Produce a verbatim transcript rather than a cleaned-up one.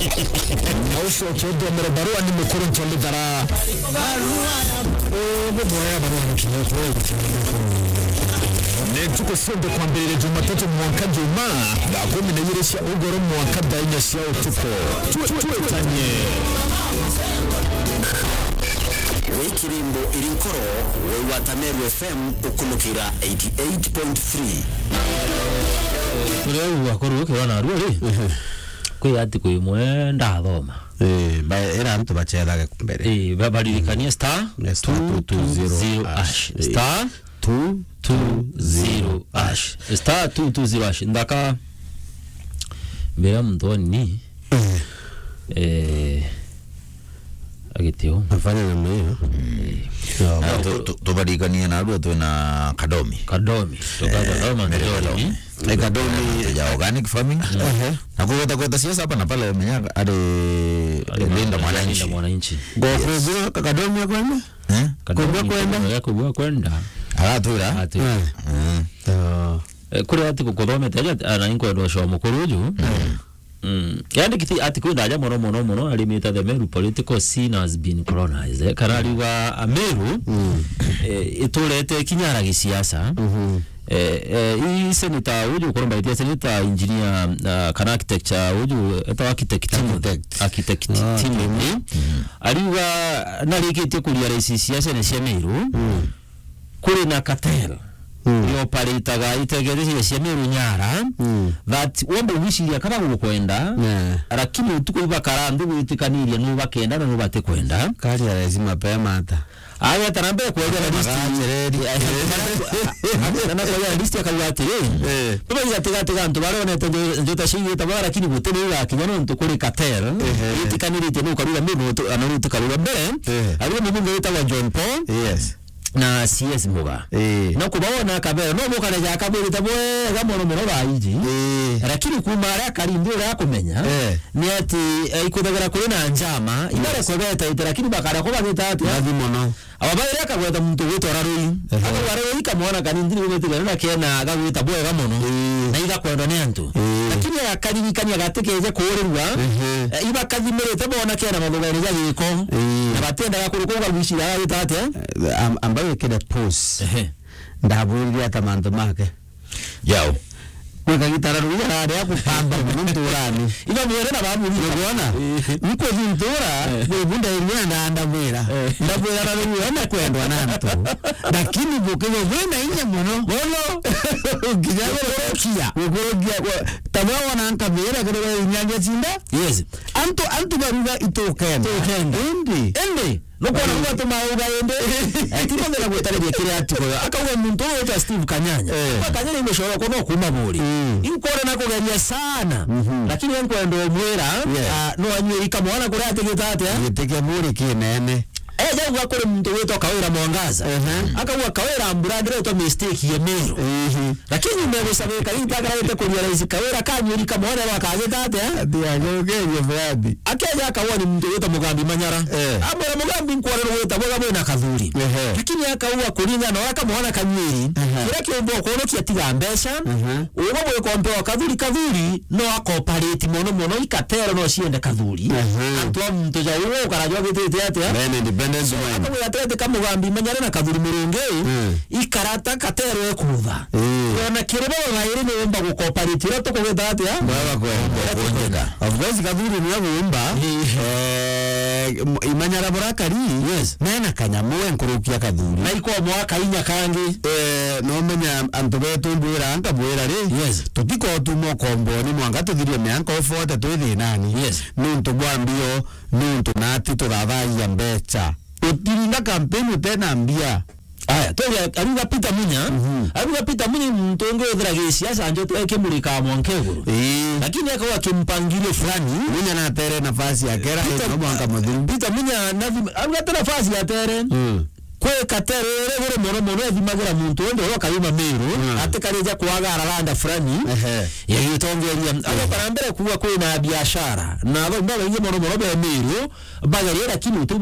Na ucoke uthomere barua ni mukuru Nchomithara. Barua ya, eh, ni mwoya barua ni kinya. Ni ntuku cionthe kwambiriria Jumatatu mwanka Jumaa, thaa kumi na igiri cia ugoro mwanka thaa inya cia utuku. Twe-, twetanie. Wi kirimbo iri nkoro, wi wa Tameru F M ukunukira eighty eight point three. Uria u akuru ukirwa na arua ri? Ehe. Kwi atiku imwe ndathoma. Eh, ba-, era antu bachethage mbere. Eh, ba-, baririkanie star, eh, star two two zero hash. Hash. Eh. Star two two zero hash. Star two two zero hash. Nthaka mbere ya muntu wa nini? Eh. Eh, agitio. Afanya namna hiyo. Mm. Sawa. Na tu-, tu-, tubarikanie na arua twina Kadomi. Kadomi. Tukaja Kadomi, Kadomi. Eh, Kadomi. Ya organic farming. Ehe. Na kugweta gweta siasa hapa na pale, menya ari Linda Mwananchi. Linda Mwananchi. Yes. Ngokugua ka Kadomi akwenda? Eh? Kadomi kwenda? Kwenda kwenda. Agatwira? Agatwira. Eh. Mm. Oh. Eh, kuri ati kukuthomete aja, ana inkwenda ucio mukuru uju. Mm. Mm. Yandikiti ati kwenda aja mono, mono, mono, arimite the Meru political scene has been colonized. Eh, kana ariuga Ameru, mm, eh, iturete kinyara gisiasa. Mhm. Eh, eh, i senator uju, ukuromba itia senator engineer, ah, kana architecture uju, eta architect Timothy. Architect. Ah, Timothy. Timothy. Mm. Ariuga narikitie kuria raisi siasa ni cia Meru. Mm. Kuri na cartel, mm, ioparitaga itegereire cia Meru nyara, mm, that womba gwiciria kana gukwenda, yeah, lakini utuku ibakara nthi gwitikaniria nu bakenda na nu batikwenda. Kari ya lazima pema ata. Ageta na mbere kwegera list. Magacireri. Ageta na kwegera list akauga atiri, eh, tubaigatiga tiga antu baria onete njo-, njota ciigite bwa, lakini guti ni igakinya nontu kuri cartel, ehe, itikaniritie nu karuga mbere, nu tu-, ana nu tukaruga mbere. Eh. Ariwe mubunge witagwa John Paul. Yes. Na C S Muga. Eh. Na kubaona akabera, no mukareja akabwirite bwega mono mono baiji. Eh. Lakini kuma aria akari nthi uria akumenya, eh, ni ati, eh, ikwithagirwa kuri na njama, yes, ibare kwebeta ite, lakini bakara kubagita atia? Bathi mono. Aba baire akagweta muntu ugwitwa Rarui. Ehe. Akauga Rarui kamwana kanini ni gwitigana na kena gagwita bwega mono. Eh. Na igakwendwa ni antu. Eh. Lakini agakarigikania gatikeje kuurirwa, ehe, eh, ibakathimirite bona kena mathugani ja giko. Eh. Na batiendaga kuri kuuga gwicira agagita atia? Eh, am-, amba wikire pause. Ehe. Ndabwirire ata mantu make? Yao. Gwe kagitara ruya rari akupamba mono nturani. Iba mwere na babu. Niguona? Eh. Nkuthi ntura, eh, gwe bunda iria ndandamwira. Eh. Ndamwira na ruya na kwendwa na antu. Lakini bukigo bwina inya mono. Mono. Nginya gukurukia. Gukurukia. Tabwa wana nkamira kiri we inyanya cinda. Yes. Antu, antu baruga itukenda. Tukenda. Indi. Indi. Nukwona kuga tumauga indi. Eh, tibonera gwitariria kiria atugoyo. Akauga muntu uyu witwa Steve Kanyanya. Eh. Kwa Kanyanya imeshoro kono kuma buri. Mm. Inkwona na kugeria sana. Mhm. Lakini nkwenda umwira, yes, ah, no anywe ikamwana kuria atigita atia? Gitike buri kinene. Eja uga kuri muntu witwa Kawira Mwangaza. Ehe. Akauga Kawira mbura ndiretwa mistake ye Meru. Ehe. Lakini megusabika intagarite kuria rais Kawira kanyuri kamwana bakagita atia? Ati ajokerie fulani. Akeja akauga ni muntu wita Mugambi Manyara. Eh. Amwira Mugambi nkwona ni wita bwega bwina kathuri. Ehe. Lakini akauga kuringana na uria kamwana kanyiri, ehe, kiria kiumba ukurukia tiga mbeca, ehe, ugo bwikompewa kathuri, kathuri no akoparate mono mono, ikatero no ciende kathuri. Ehe. Antu a muntu ja ugo ukara jwagitite atia? Men independence. So, mind. Akauga atete ka Mugambi Manyara na kathuri Murungi, mm, ikarata katero ekutha. Ii. Ona kiri bo bairi ni umba gukoparate uria tukugita atia? Baba kwenda. Uria tukwenda. Of course, kathuri ni agumba. Ii. Eh, m-, imanyara burakari. Yes. Mena kanyamu we nkurukia kathuri. Na iko mwaka inya kangi. Eh, no menya antu betu mbwira nka bwira ri. Yes. Tutiko tuma ukomboni mwanga tuthirie mianka ufote twi thinani. Yes. Nuntu bwa mbio, nuntu nati tuthathagia mbecha. Utirinda kampeni utena mbia. Aya, tuge, ariuga Peter Munya, mhm, ariuga Peter Munya ni muntu ungi withira gisiasa njoto ekimurika mwanka iguru. Ii. Lakini akauga kimpangilio fulani. Munya natere nafasi ya kera, Peter, no mwanka muthiru. Peter Munya nathi-, ariuga ate nafasi ya tere. Mm. Kwi katere iri iguru mono mono ethimagira muntu wende uria ukayuma Meru, mm, atikarija kwagara randa fulani, ehe, ya gitongeria. Mm. Agoka na mbere kuuga kwina biashara. Na athomba baingi mono mono be Meru, bageria lakini utu